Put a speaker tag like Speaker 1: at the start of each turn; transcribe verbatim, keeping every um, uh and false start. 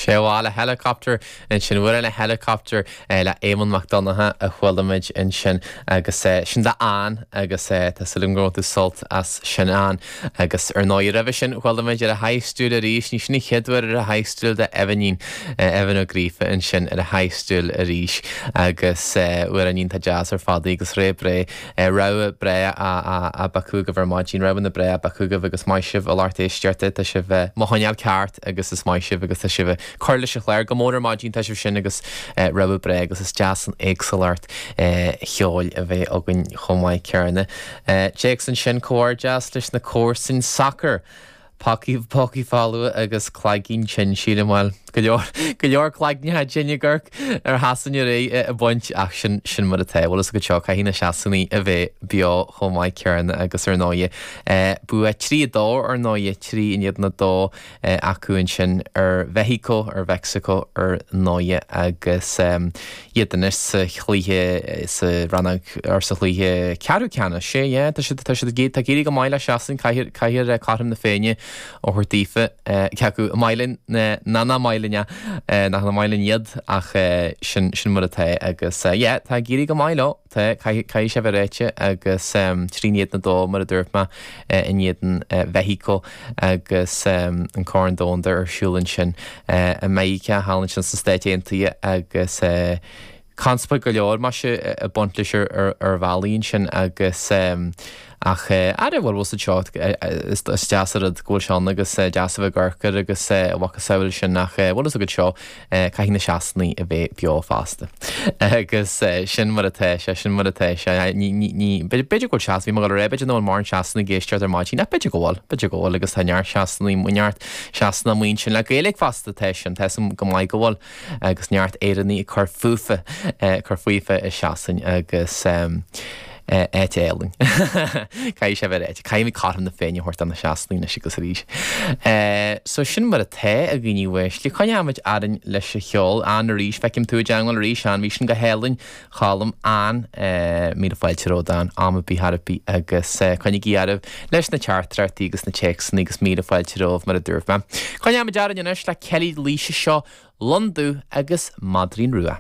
Speaker 1: Sé le helicopter ansin bhfuil le helicopter eh, le Éamonn Mac Donncha a chuala muid ansin agus eh, sin d'Ann agus eh, tá súil agam go raibh tú sult as sin Ann agus ar ndóigh roimhe sin chuala muid ar a haistiúil arís ní sin an chéad uair ar a haistiúil de Evanín Evan Ó Gríofa ansin ar a haistiúil arís agus uair tá jazz ar fadaí agus ré bré rogha breá a bacúgah ar maidin rogha na breá bacúgah agus maith sibh a lucht éisteachta tá sibh mohaneal ceart agus is maith sibh agus tá sibh cur leis an chlár go mór ar maidin tá sibh sin agus rogha breá agus is deas an éagsúlacht cheoil a bheith againn chomh maith céanna. Téacs ansin comhghairdeas leis na comharsain sacar. Pócaí pócaí folamha agus cloigeann tinn sílim bhfuil go leor go leor cloigne tinne gurc ar Shasana ré a baint ach sin sin mar atá bhfuil go seo caithfidh na Sasanaigh a bheith beo chomh maith céanna agus ar ndóigh bua trí dó ar ndóigh trí in éadan a dó acu ansin ar Mheicsiceo ar Mheicsiceo ar ndóigh agus iad anois sa chluiche sa rannóg ar sa chluiche ceathrú ceannais sé tá siad tá siad tá ag éirí go maith le Sasain caithfidh caithfidh cothrom na Féinne ó thabhairt daofa ceacu mailin ná ná mailine nach na mailin iad ach sin sin mar atá agus yeah, tá ag éirí go maith leo tá caithfidh sé bheith ráite agus trí in éadan a dó mar a dúirt mé in éadan Mheicsiceo agus an Corn Domhanda ar siúl ansin i Meiriceá thall ansin sna Stáit Aontaithe agus conspóid go leor mar sé a baint leis ar ar bhealaí ansin agus ach aire bhfuil bhfuil seo is deas rud go bhfuil seán agus deas a bheith garcar agus bhca sin ach bhfuil go seo caithfidh na Sasanaigh a bheith beo fosta. agus sin mar atá sé sin mar atá sé ní b'fhéidir go seas bhí go ré b'fhéidir nó an mar Shasanaigh ag éisteacht ar maidin ach b'fhéidir go bhfuil b'fhéidir go bhfuil agus tá neart Sasanaigh neart Sasana muin sin le Gaeilge fosta tá sin tá go maith go bhfuil agus neart Éireannaigh ag cur fúthu cur faofa i Sasain agus um, áit álainn. Caithfidh sé bheith ráite, Caithfidh cothrom na Féinne a thabhairt do na Sasanaigh anois agus arís. So sin mar atá a dhaoine uaisle, coinneoimid orainn leis an cheol an arís feicim tú i dteagmháil arís an bhí sin go hálainn Cholm an míle fáilte romhat am ar bith ar bith agus coinnigí oraibh leis na teachtaireachtaí agus na téacsanna agus míle fáilte romhaibh mar a dúirt mé. Coinneoimid orainn anois le Kelly Laoise seo Londú agus Maidrín Rua.